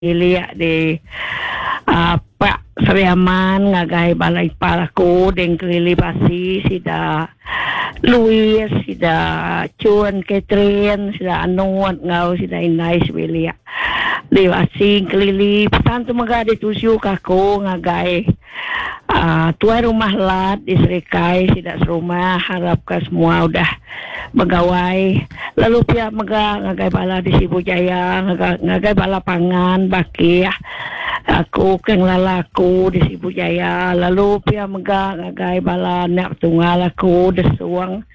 Bilik di Pak Sri Aman ngagai bala ipar aku ding Kelili Basi sida Louis sida Chun Catherine sida Anut enggau sida indai sebilik di Basi Kelili pesan tu mega dituju ka aku ngagai aaa tuai rumah Lat di Serikai sida serumah arap ka semua udah begawai lalu pia mega ngagai bala di Sibu Jaya ngagai bala pangan bakih aku ke ngelala aku di Sibu Jaya lalu pia mega ngagai bala anak tunggal aku Desung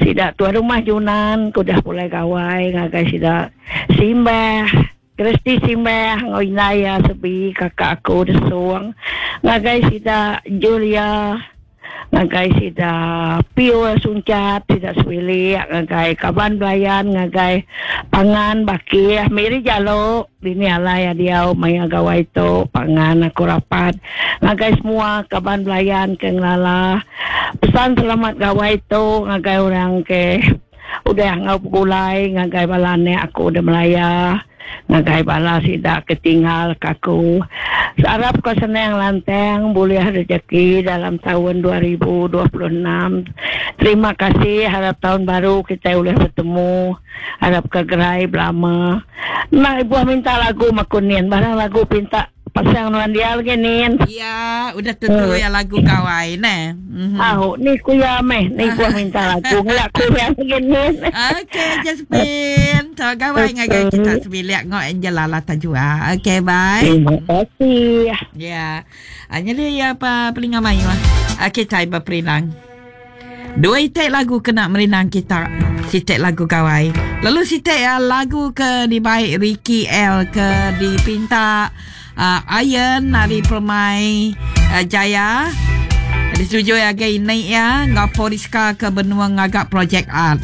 sida tuai rumah Junan ke udah pulai gawai ngagai sida Simbah. Christy Simbah enggau indai iya Sebi kakak aku Desung ngagai sida Julia ngagai sida Pius Unchat sida sebilik ngagai kaban belayan ngagai pangan bakih Miri Jalo dini alai iya diau maya gawai tu pangan aku rapat ngagai semua kaban belayan ke ngelala pesan selamat gawai tu ngagai orang ke Udah enggau begulai ngagai bala anak aku da Malaya, ngagai bala sida ke tinggal ka aku. Arap ka senang lantang bulih rejeki dalam taun 2026. Terima kasih arap taun baru kitai ulih betemu. Arap ka gerai belama. Enda ibuh minta lagu maku nin barang lagu pinta. Pasang nuan dia lagi nin. Ya, udah tentu ya lagu gawai neh. Mm-hmm. Au, ni ku ya meh, ni ku minta lagu ngelak ku ya lagi nin. Okey, Jasmine. So gawai ngagai kita sebilik ngau Angela lah tajua. Okey, bye. Terima kasih. Ya. Ah, jadi ya apa pelinga mayu. Okey, tai berperinang. Dua iti lagu kena merindang kita. Siti lagu gawai. Lalu siti uh, lagu ke dibai Ricky L ke dipinta uh, Iron ari Permai uh, Jaya. Disetujui agai ini ya enggau Poriska ke benua ngaga projek art.